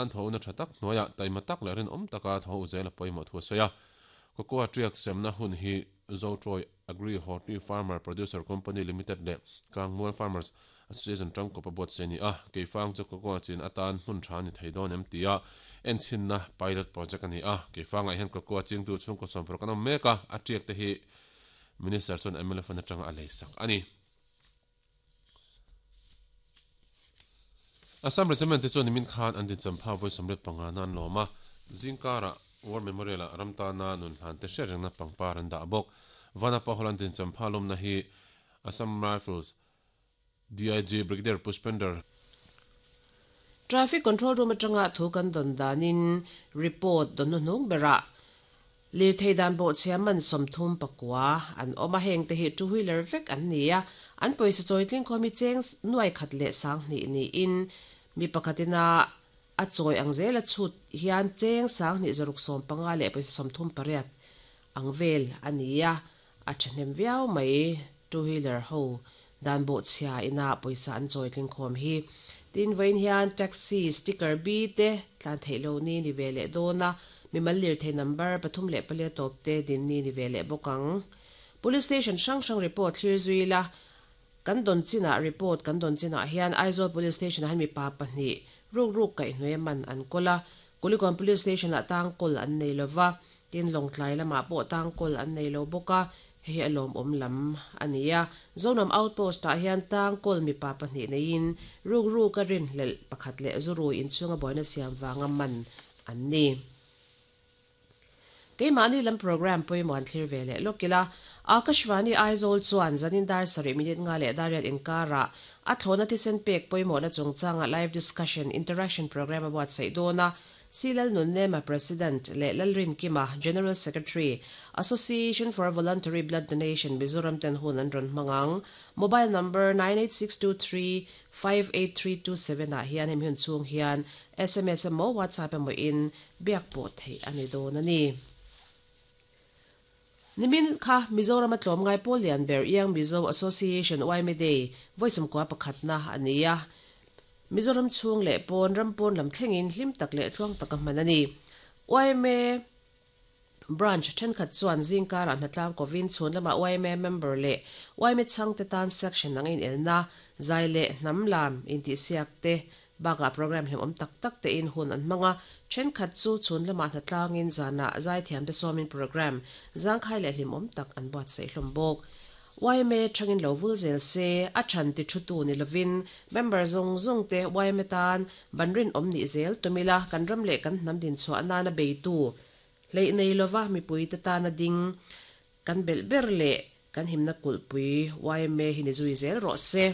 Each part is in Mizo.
An thawhna tha tak hnuaiah taima tak leh rinawm taka thaw zel a pawimawh thu a sawi a. Cocoa tiak semna hun hi Zotroy Agri Horti Farmer Producer Company Limited leh Kangmual Farmers Association tangkawp a buatsaih a ni a. Keifang chu cocoa chin atan hmun tha a ni thei dawn em tia enchhinna pilot project a ni a. Keifangah hian cocoa chingtu chhungkaw sawmparuk an awm mek a, a tiak te hi Minister chuan mla fund atanga a leisak a ni. Assam Regiment te chuan nimin khan an dincham pha vawi 25 na an lawm a, zingkarah War Memorial ah ram tana nun hlan te hriat rengna pangpar an dah bawk. Vanapa Hall an dincham pha lawmna hi Assam Rifles DIG Brigadier Pushpender Traffic Control Room atanga thu kan dawn danin report dawn hnuhnung berah Lirthei dan bawhchhia man 39 an awm a, hengte hi two wheeler vek an ni a, an pawisa chawi tling khawm hi cheng nuai khat leh 2000 niin mi pakhatin a a chawi ang zel a chhut hian cheng 2650 leh pawisa 38 ang vel a ni a, a thahnem viau mai two wheeler ho dan bawhchhia ina pawisa an chawi tling khawm hi. Tin, vawiin hian taxi sticker bi te tlan theih lo ni ni ve leh dawn a, mimal lirthei number 3 le 4 tawp te din ni ni ve leh bawk ang. Police station hrang hrang report thlir zui ila, kan dawn chinah report kan dawn chinah hian Aizawl Police Station ah hian mipa pahnih ruk ruk kaihhnuai man an kawl a, Kulikawn Police Station ah tang kawl an nei lova, tin Lawngtlai lamah pawh tang kawl an nei lo bawk a, Hei hi a lawmawm lam a ni a, Zonam Outpost ah hian tang kawl mipa pahnih neiin rukru ka rinhlelh pakhat leh zurui inchhunga buaina siam vanga man an ni. Keimahni lam programme pawimawh an thlir ve leh lawk ila, Akashvani Aizawl chuan zanin dar sarih minute nga leh dar riat inkarah a thlawhna thisen pek pawimawhna chungchanga live discussion interaction programme a buatsaih dawn a, C. Lalnunnema, President, leh Lalrinkima, General Secretary, Association for Voluntary Blood Donation, Mizoram ten hun an rawn hmang ang. Mobile number 98623 58327 ah hian hemi hun chhung hian sms emaw WhatsApp emaw in biak pawh theih a ni dawn a ni. Nimin kha Mizoram a tlawmngai pawl lian ber Young Mizo Association, YMA Day, vawi sawmkua pakhatna a ni a. Mizoram chhung leh pawn ram pawn lam thlengin hlim tak leh tluang taka hman a ni. Yma Branch thenkhat chuan zingkarah hnatlang kovin chhun lamah yma member leh yma chhangte tan section ang inelna, zai leh hnam lam intihsiak te bakah programme hlimawm tak tak tein hun an hmang a, thenkhat chu chhun lamah hnatlangin zanah zaithiamte sawmin programme zangkhai leh hlimawm tak an buatsaih hlawm bawk. Yma thangin lo vul zel se, a than ti thu tu ni lovin member zawng zawng te yma tan ban rinawm nih zel tum ila kan ram leh kan hnam dinchhuah nana beitu hleih nei lova mipui te tana ding kan belh ber leh kan himna kulhpui yma hi ni zui zel rawh se.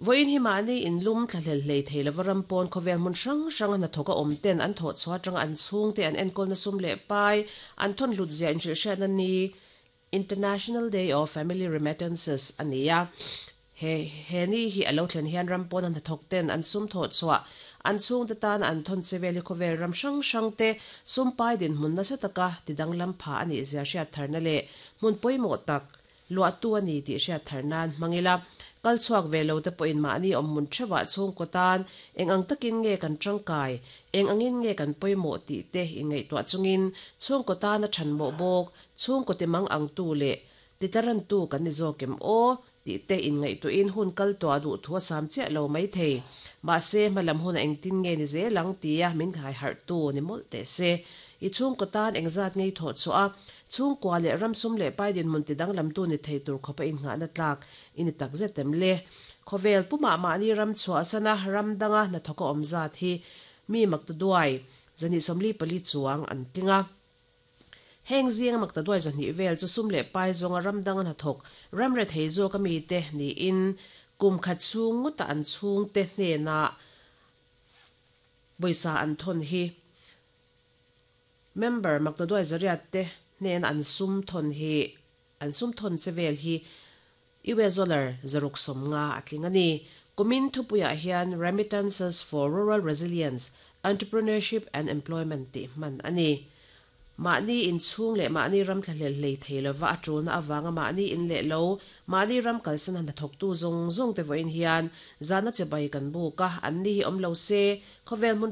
Vawiin hi mahni inlum thlahlel hlei thei lova ram pawn khawvel hmun hrang hranga hnathawk a awm ten an thawh chhuah atanga an chhungte an enkawlna sum leh pai an thawn hlut zia inhrilhhriatna ni International Day of Family Remittances a ni a. He he ni hi a lo thlen hian ram pawn a hnathawk ten an sum thawh chhuah an chhungte tana an thawn che vel hi khawvel ram hrang hrang te sum pai dinhmun nasa taka tidanglam pha a nih zia hriat tharna leh hmun pawimawh tak Luahtu a ni tih hriat thar nan hmang ila, kal chhuak ve lo te pawhin mahni awmhmun theuhah chhungkaw tan eng ang takin nge kan tangkai, eng angin nge kan pawimawh tih te inngaihtuah chungin chhungkaw tana thanmawh bawk, chhungkaw timang angtu leh titlarantu kan ni zawk em aw tih te inngaihtuahin hun kal tuah duh thu a sam chiah lo mai thei. Mahse, hmalam huna engtin nge ni zel ang tia min ghaiharhtu ni mawlh teh se. I chhungkaw tan engzat ngei thawh chhuah a, Chhungkua leh ram sum leh pai dinhmun ti danglamtu ni thei tur khawpa innghahna tlak i ni tak zet em le? Khawvel pumah mahni ram chhuahsana ram danga hnathawka awm zat hi mi maktaduai 244 chuang an tling a. Heng zinga maktaduai 200 vel chu sum leh pai zawnga ram danga hnathawk ram rethei zawka mite niin kum khat chhung ngawta an chhungte hnenah pawisa an thawn hi Member maktaduai zariat te hnena an sum thawn hi an sum thawn che vel hi US dollar 650 a tling a ni. Kumin thupuiah hian Remittances for Rural Resilience, Entrepreneurship and Employment tih hman a ni. Mahni in chhung leh mahni ram thlahlel hlei thei lova a tulna avanga mahni in leh lo, mahni ram kalsan a hnathawktu zawng zawng te vawiin hian zahna chibai kan buk a, anni hi awm lo se khawvel hmun.